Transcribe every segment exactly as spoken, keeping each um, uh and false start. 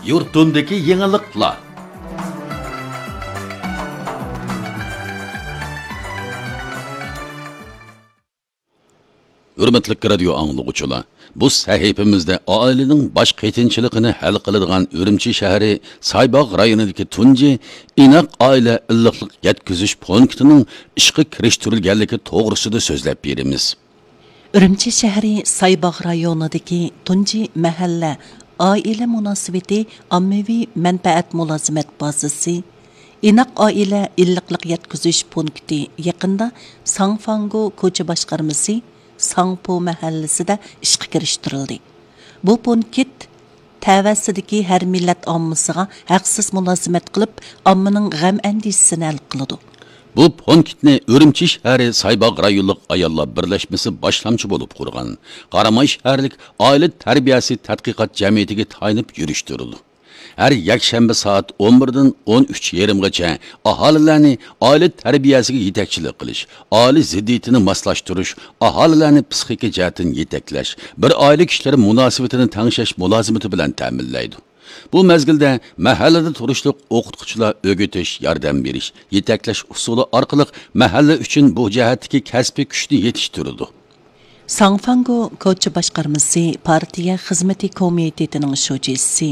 يۇرتۇمدىكى يېڭىلىقلار. ھۆرمەتلىك رادىيو ئاڭلىغۇچىلار، بۇ سەھىپىمىزدە ئائىلىنىڭ باش قېتىنچىلىقىنى ھەل قىلىدىغان ئۈرۈمچى شەھىرى سايباغ رايونىدىكى تۇنجى ئىناق ئائىلە ئىللىقلىق يەتكۈزۈش پونكىتىنىڭ ئىشقا كىرىشتۈرۈلگەنلىكى توغرىسىدا سۆزلەپ بېرىمىز. ئۈرۈمچى شەھىرى سايباغ رايونىدىكى تۇنجى مەھەللە ئائىلە مۇناسىۋىتى ئاممىۋى مەنپەئەت مۇلازىمەت بازىسى، ئىناق ئائىلە ئىللىقلىق يەتكۈزۈش پونكىتى يېقىندا ساڭفاڭگو كوچا باشقارمىسى ساڭپو مەھەللىسىدە ئىشقا كىرىشتۈرۈلدى. بۇ پونكىت تەۋەسىدىكى ھەر مىللەت ئاممىسىغا ھەقسىز مۇلازىمەت قىلىپ، ئاممىنىڭ غەم-ئەندىشىسىنى ھەل قىلىدۇ. بۇ پونكىتنى ئۈرۈمچى شەھىرى سايباغ رايونلۇق ئاياللار بىرلەشمىسى باشلامچى بولۇپ قۇرغان. قاراماي شەھەرلىك ئائىلە تەربىيەسى تەتقىقات جەمئىيىتىگە تايىنىپ يۈرۈشتۈرۈلىدۇ. ھەر يەكشەنبە سائەت ئون بىردىن ئون ئۈچ يېرىمغىچە ئاھالىلەرنى ئائىلە تەربىيەسىگە يېتەكچىلىك قىلىش، ئائىلە زىددىيىتىنى ماسلاشتۇرۇش، ئاھالىلەرنى پىسخىكا جەھەتتىن يېتەكلەش، بىر ئائىلە كىشىلىرى مۇناسىۋىتىنى تەڭشەش مۇلازىمىتى بىلەن تەمىنلەيدۇ. بۇ مەزگىلدە مەھەللىدە تۇرۇشلۇق ئوقۇتقۇچىلار ئۆگىتىش، ياردەم بېرىش، يېتەكلەش ئۇسۇلى ئارقىلىق مەھەللە ئۈچۈن بۇ جەھەتتىكى كەسپىي كۈچنى يېتىشتۈرىدۇ. ساڭفاڭگو كوچا باشقارمىسى پارتىيە خىزمىتى كومىتېتىنىڭ شۇجىسى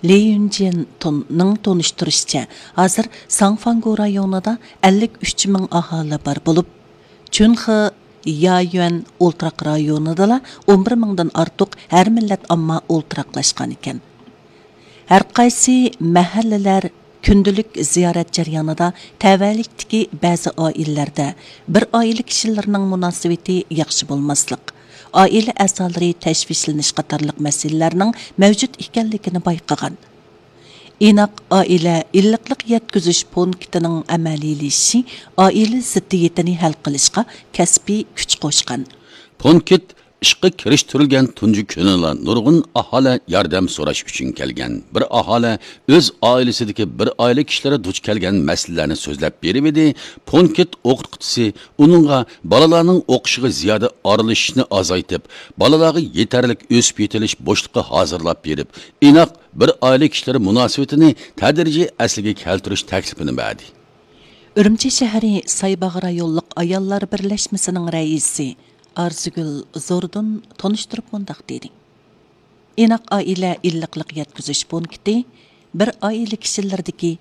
لى يۈنجىن تۇننىڭ تونۇشتۇرۇشىچە، ھازىر ساڭفاڭگو رايونىدا ئەللىك ئۈچ مىڭ ئاھالە بار بولۇپ، چۈنخې يايۈەن ئولتۇراق رايونىدىلا ئون بىر مىڭدىن ئارتۇق ھەر مىللەت ئامما ئولتۇراقلاشقان ئىكەن. ھەرقايسى مەھەللىلەر كۈندىلىك زىيارەت جەريانىدا تەۋەلىكتىكى بەزى ئائىلىلەردە بىر ئائىلە كىشىلىرىنىڭ مۇناسىۋىتى ياخشى بولماسلىق، ئائىلە ئەزالىرى تەشۋىشلىنىش قاتارلىق مەسىلىلەرنىڭ مەۋجۇت ئىكەنلىكىنى بايقىغان. ئىناق ئائىلە ئىللىقلىق يەتكۈزۈش پونكىتىنىڭ ئەمەلىيلىشىشى ئائىلە زىددىيىتىنى ھەل قىلىشقا كەسپىي كۈچ قوشقان. پونكىت ئىشقا كىرىشتۈرۈلگەن تۇنجى كۈنىلا نۇرغۇن ئاھالە ياردەم سوراش ئۈچۈن كەلگەن. بىر ئاھالە ئۆز ئائىلىسىدىكى بىر ئائىلە كىشىلىرى دۇچ كەلگەن مەسىلىلەرنى سۆزلەپ بېرىۋىدى. پونكىت ئوقۇتقۇچىسى ئۇنىڭغا بالىلارنىڭ ئوقۇشىغا زىيادە ئارىلىشىشنى ئازايتىپ، بالىلارغا يېتەرلىك ئۆسۈپ يېتىلىش بوشلۇقى ھازىرلاپ بېرىپ، ئىناق بىر ئائىلە كىشىلىرى مۇناسىۋىتىنى تەدرىجىي ئەسلىگە كەلتۈرۈش تەكلىپىنى بەردى. ئۈرۈمچى شەھىرى سايباغ رايونلۇق ئاياللار بىرلەشمىسىنىڭ رەئىسى ئارزۇگۈل زوردۇن تونۇشتۇرۇپ مۇنداق دېدى: ئىناق ئائىلە ئىللىقلىق يەتكۈزۈش پونكىتى بىر ئائىلە كىشىلىرىدىكى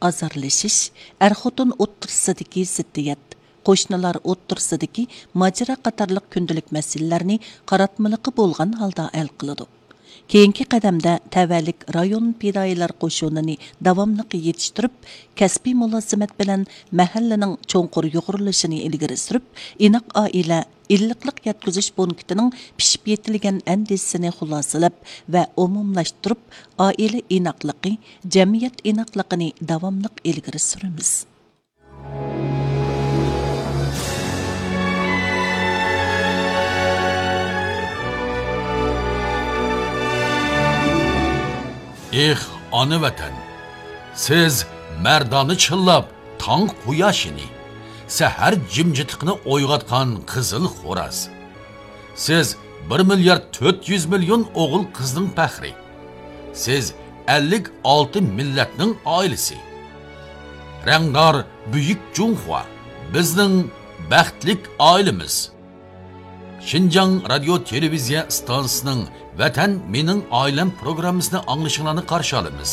ئازارلىشىش، ئەر-خوتۇن ئوتتۇرىسىدىكى زىددىيەت، قوشنىلار ئوتتۇرىسىدىكى ماجىرا قاتارلىق كۈندىلىك مەسىلىلەرنى قاراتمىلىقى بولغان ھالدا ھەل قىلىدۇ. كېيىنكى قەدەمدە تەۋەلىك رايون پىدائىيلار قوشۇنىنى داۋاملىق يېتىشتۈرۈپ، كەسپىي مۇلازىمەت بىلەن مەھەللىنىڭ چوڭقۇر يۇغۇرۇلۇشىنى ئىلگىرى سۈرۈپ، ئىناق ئائىلە ئىللىقلىق يەتكۈزۈش پونكىتىنىڭ پىشىپ يېتىلگەن ئەندىزىسىنى خۇلاسىلەپ ۋە ئومۇملاشتۇرۇپ، ئائىلە ئىناقلىقى، جەمئىيەت ئىناقلىقىنى داۋاملىق ئىلگىرى سۈرىمىز. ئېھ، ئانا ۋەتەن! سىز مەردانە چىللاپ تاڭ قۇياشىنى، سەھەر جىمجىتلىقىنى ئويغاتقان قىزىل خوراز. سىز بىر مىليارد تۆت يۈز مىليون ئوغۇل قىزنىڭ پەخرى. سىز ئەللىك ئالتە مىللەتنىڭ ئائىلىسى. رەڭدار بۈيۈك جۇڭخۇا، بىزنىڭ بەختلىك ئائىلىمىز. شىنجاڭ رادىيو تېلېۋىزىيە ئىستانسىسىنىڭ ۋەتەن مېنىڭ ئائىلەم پروگراممىسىنى ئاڭلىشىڭلارنى قارشى ئالىمىز.